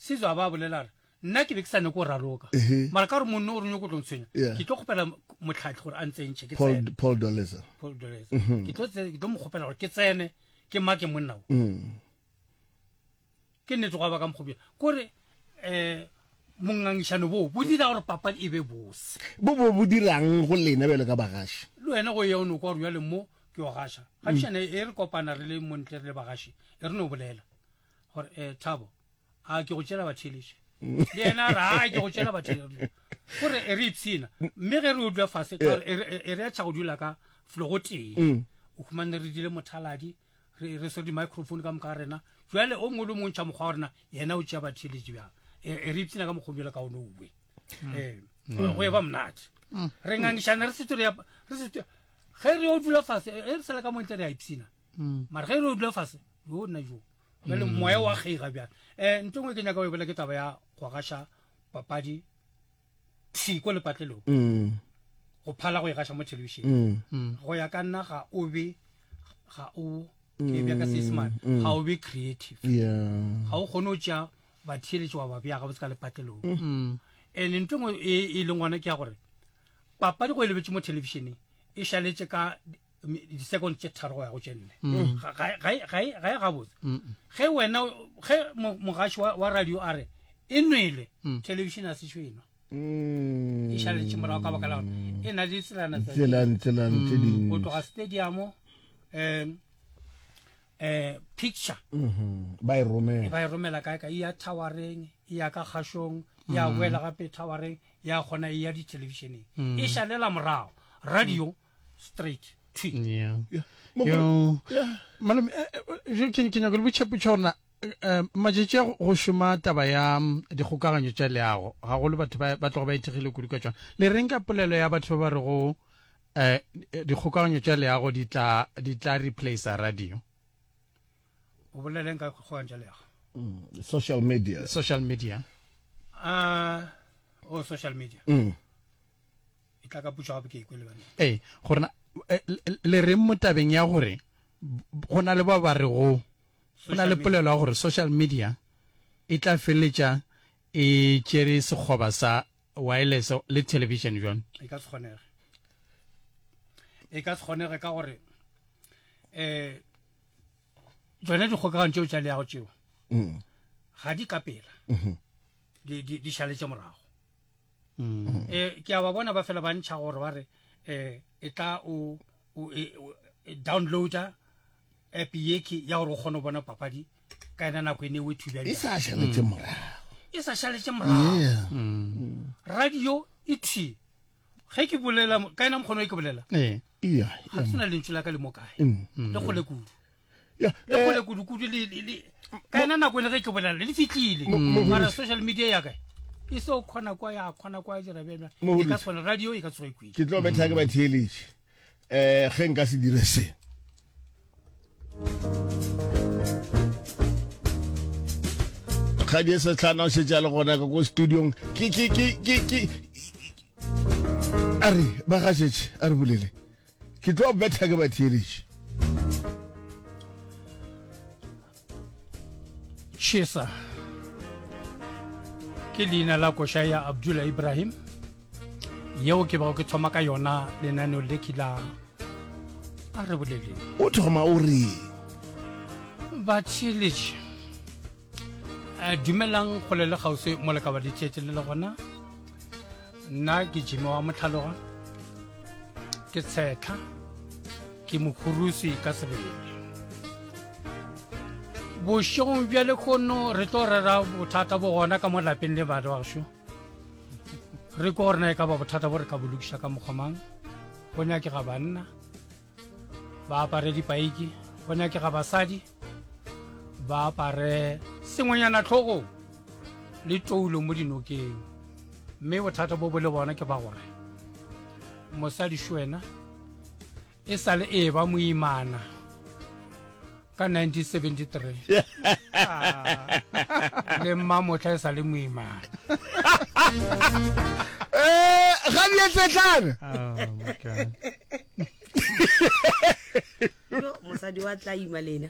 Sizwe a ba a bolela a re, Nna ke be ke sa nyake go raloka, mara ka gore monno o re nyoko tlo ntshwenya, ke tlo kgopela motlhatlhi gore a ntsentšhe ke tsene. Paul Doleza. Paul Doleza. Mhm. Ke tlo ke tlo mo kgopela gore ke tsene ke make monna o. Mm. Ke nnete go ba ka mokgobja. Kore eh mongangišano bo bo dira gore papadi e be bose. Bo bo bo dirang go lena bjalo ka bagaši? Le wena go ya o no kwa gore bjale mo ke o gaša. Gabišane mm. e re kopana re le montle re le bagaši, e re no bolela gore eh Thabo a ke go tšela batheeletše le yena a re a ke go tšela batheeletše gore e re ipshina mme ge re o dula fase ka gore e re- e re ya tšha go dula ka felo go tee Mm. o humane re dile mothaladi re re swere di-microphone ka moka ga rena jale o mongwe le o mongwe ntšha mokgwa wa rena yena o tšea batheeletše bjang e e re ipshina ka mokgwa o bjalo ka one owe ee go e ba monate re ngangišana re setse re ya- re setse ge re o dula fase e re sala ka montle re a ipshina mara ge re o dula fase yo nna jo jale mm. moya wa kgeiga bjang um eh, nto ngwe ke nyaka go e bolela ke taba ya go gaša papadi thwi ko lepatlelong mm. go phala go e gaša mo thelebišeneng mm. go ya ka nna ga o be ga o ke bja ka seesemane ga o be creative ga o kgone go tšea batheeletši wa ba bea gabotse ka lepatlelong and nto ngwe e, e leng gona ke ya gore papadi go e lebetse mo thelebišeneng e šaletše ka di-second tše tharo go ya go tše nne mm. ga e, e gabotse ge wena ge mogaši wa radio a re e nwele mm. television a sešo enwa mm. e šaletše morago ka baka la gore e na le tselana tse dingwe go tloga stadium um um picture mm-hmm. ba e romela ba e romela kae ka e ya towereng e ya ka kgašong ya boela gape towereng ya kgona e ya dithelebišeneng e šalela morago radio straight thwi yeah. Yeah. Yo. Yeah. Malome, eh, eh, ke ke nyaka le botša potša gore na eh, matšatši a go šoma taba ya mm, dikgokaganyo tša leago gagolo batho ba ba tloga ba ithekgile kudu ka tšona le reng ka polelo ya batho ba ba rego eh, dikgokaganyo tša leago di tla di tla replacer radio o boleleng ka kgokaganyo tša leago mm, social media social media uh, oh social media mm. E tla ka putšo gape ke ikwe le bana. Ee, gore na eh, le reng mo tabeng ya gore go na le ba ba rego go na le polelo ya gore social media e tla feleletša e tšere sekgoba sa wireless le television jwang? E ka se kgonege. E ka se kgonege ka gore eh tsone dikgokaganyo tšeo tša leago tšeo mm. ga di ka pela mm-hmm. di di šaletše morago mm. eh ke a ba bona ba fela ba ntšha gore ba re eh e tla o o e, e, downloader app ye ke ya gore o kgone go bona papadi ka yona nako e ne o e thubja e sa šaletše mm. morago e sa šaletše morago mm. radio e thwi ge ke bolela ka yona mokgono e ke bolela ee. ga ke sena lentšu la ka le mo kae le kgole kudu Ya, le eh, kgole kudu-kudu le- le- le- ka yona nako e le ge ke bolela le fitlhile Mo- mara social media ya kae e se o kgona kwa ya kgona kwa dira bjana Mo- e ka tshwana radio e ka tsoge kwile ke tlo betha ke batheeletše um ge nka se dire se kgadi e setlhana o šetše a le gona ka ko studiong ke ke ke ke ke a re ba gašetše a re bolele Ke tlo betha ke batheeletši. Chesa ke leina la koša ya Abdullah Ibrahim yeo ke bego ke thoma ka yona lenaneo le ke la a re boleleng. O thoma o re. Batheeletši eh, dumelang kgole le kgauswi mo le ka ba ditšetše le le gona nna ke jime wa motlhaloga ke tshetlha ke mokhurusi ka sebele bošegong bja lekgono re tlo rera bothata bo gona ka mo lapeng le bana bašo re ko gore na e ka ba bothata bo re ka bo lokiša ka mokgwa mang go nyakega banna ba apare dipaiki go nyakega basadi ba apare sengwenyana tlhogong le toulo mo dinokeng mme bothata bo bo le bona ke ba gore mosadi šwena e sa le e ba moimana ka 1973 ah, le mmamotla e sa le moimana eh, ga di etsetlana oh, mosadi wa tla ima lena.